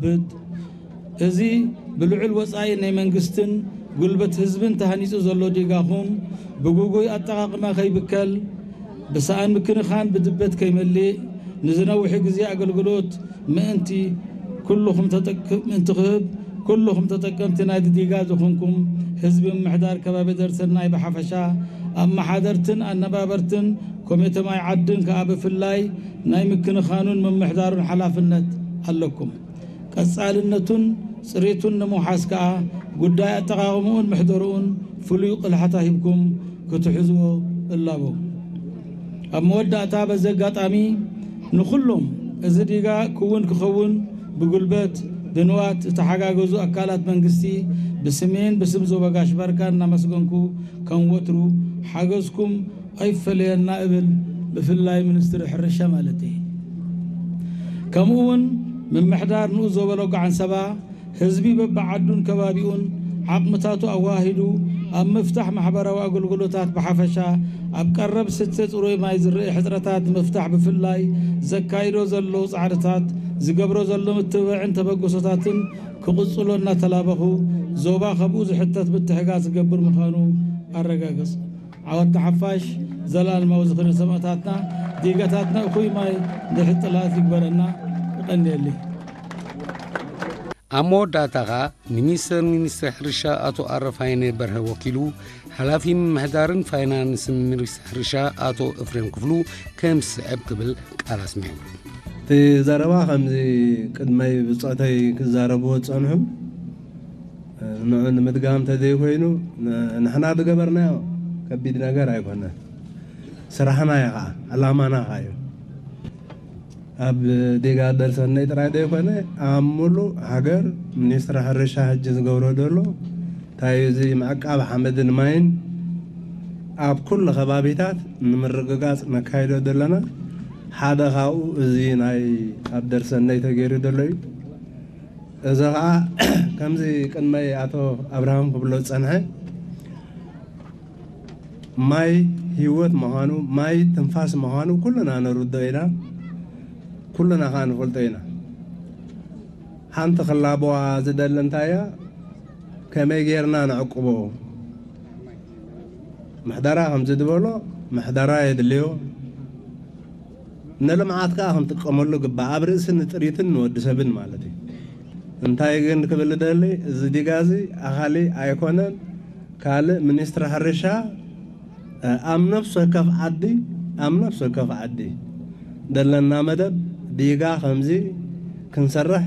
ብት-፣ እዚ ብልዑል ወጻኢ ናይ መንግስትን ጉልበት ህዝብን ተሃኒጹ ዘሎ ዲጋኹም ብግጉይ ኣጠቓቕማ ከይብከል፣ ብሰኣን ምክንኻን ብድበት ከይመልእ፣ ንዝነውሒ ግዜ ኣገልግሎት ምእንቲ ኩልኹም ተጠቅ-፣ ምእንቲ ክህብ፣ ኩልኹም ተጠቀምቲ ናይ ዲጋ ዝኾንኩም ህዝቢ ምምሕዳር ከባቢ ደርሰናይ ብሓፈሻ፣ ኣመሓደርትን ኣነባበርትን ኮሚተ ማይ ዓድን ከኣ ብፍላይ ናይ ምክንኻኑን ምምሕዳሩን ሓላፍነት ኣለኩም። ቀጻልነቱን ጽሬቱን ንምውሓስ ከኣ ጉዳይ ኣጠቓቕምኡን ምሕደርኡን ፍሉይ ቅልሓታ ሂብኩም ክትሕዝዎ እላቦ። ኣብ መወዳእታ በዚ ኣጋጣሚ ንኹሎም እዚ ዲጋ ክውን ክኸውን ብጉልበት ብንዋት ዝተሓጋገዙ ኣካላት መንግስቲ ብስሜን ብስም ዞባ ጋሽ ባርካን እናመስገንኩ ከም ወትሩ ሓገዝኩም ኣይፈለየና እብል፣ ብፍላይ ሚኒስትሪ ሕርሻ ማለት እዩ። ከምኡ እውን ምምሕዳር ንኡስ ዞባ ሎጋዓን ሰባ ህዝቢ በብዓዱን ከባቢኡን ዓቕምታቱ ኣዋሂዱ ኣብ ምፍታሕ ማሕበራዊ ኣገልግሎታት ብሓፈሻ ኣብ ቀረብ ስተ ጽሩይ ማይ ዝረአ ሕጽረታት ንምፍታሕ ብፍላይ ዘካይዶ ዘሎ ጻዕርታት ዝገብሮ ዘሎ ምትብባዕን ተበግሶታትን ክቕጽሎ እናተላበኹ ዞባ ካብኡ ዝሕተት ምትሕጋዝ ክገብር ምዃኑ ኣረጋግጽ። ዓወት ንሓፋሽ፣ ዘላለማዊ ዝኽሪ ንሰማእታትና፣ ዲጋታትና እኹይ ማይ ድሕሪ ጥላት ይግበረና። ይቐንየለይ። ኣብ መወዳእታ ኸኣ ሚኒስተር ሚኒስትሪ ሕርሻ ኣቶ ኣረፋይነ በርሀ ወኪሉ፣ ሓላፊ ምምሕዳርን ፋይናንስን ሚኒስትሪ ሕርሻ ኣቶ እፍሬም ክፍሉ ከም ዝስዕብ ክብል ቃል ኣስሚዑ። እቲ ዘረባ ከምዚ ቅድመይ ብጾተይ ክዛረብዎ ዝጸንሑ፣ ንዑ ንምድጋም ተዘይኮይኑ፣ ን-፣ ንሕና ዝገበርናዮ ከቢድ ነገር ኣይኮነን። ስራሕና እዩ ኸዓ፣ ዕላማና ኸዓ እዩ። ኣብ ዲጋ ደርሰነይ ጥራይ ዘይኮነ፣ ኣብ ሙሉእ ሃገር ሚኒስትሪ ሕርሻ ሕጂ ዝገብሮ ዘሎ፣ እንታይ እዩ እዚ ምዕቃብ ሓመድን ማይን ኣብ ኩሉ ከባቢታት ንምርግጋጽ ነካይዶ ዘለና፣ ሓደ ካብኡ እዚ ናይ ኣብ ደርሰነይ ተገይሩ ዘሎ እዩ። እዚ ኸዓ ከምዚ ቅድመይ ኣቶ ኣብርሃም ክብሎ ዝጸንሐ፣ ማይ ህይወት ምዃኑ፣ ማይ ትንፋስ ምዃኑ ኩልና ንርድኦ ኢና፣ ኩልና ኸዓ ንፈልጦ ኢና። ሓንቲ ክላበዋ ዝደሊ እንታይ እያ? ከመይ ጌርና ነዕቅቦ? ምሕደራ ከምዚ ዝበሎ ምሕደራ የድልዮ። ንልምዓት ከኣ ክንጥቀመሉ ግባእ፣ ኣብ ርእሲ ንጥሪትን ንወዲ ሰብን ማለት እዩ። እንታይ ግን ክብል ደሊ፣ እዚ ዲጋ እዚ ኣኻሊ ኣይኮነን፣ ካልእ ሚኒስትሪ ሕርሻ፣ እ፣ ኣብ ነፍሲ ወከፍ ዓዲ፣ ኣብ ነፍሲ ወከፍ ዓዲ ዘለና መደብ ዲጋ ከምዚ ክንሰርሕ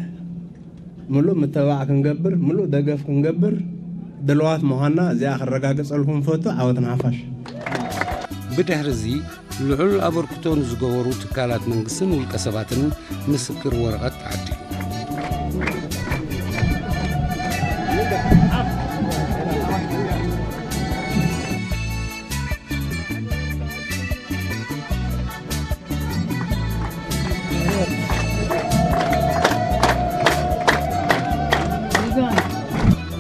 ምሉእ ምትብባዕ ክንገብር፣ ምሉእ ደገፍ ክንገብር ድልዋት ምዃንና እዚኣ ክረጋግጸልኩም ንፈቱ። ዓወት ንሓፋሽ። ብድሕሪ እዚ ልዑል ኣበርክቶ ንዝገበሩ ትካላት መንግስትን ውልቀ ሰባትን ምስክር ወረቐት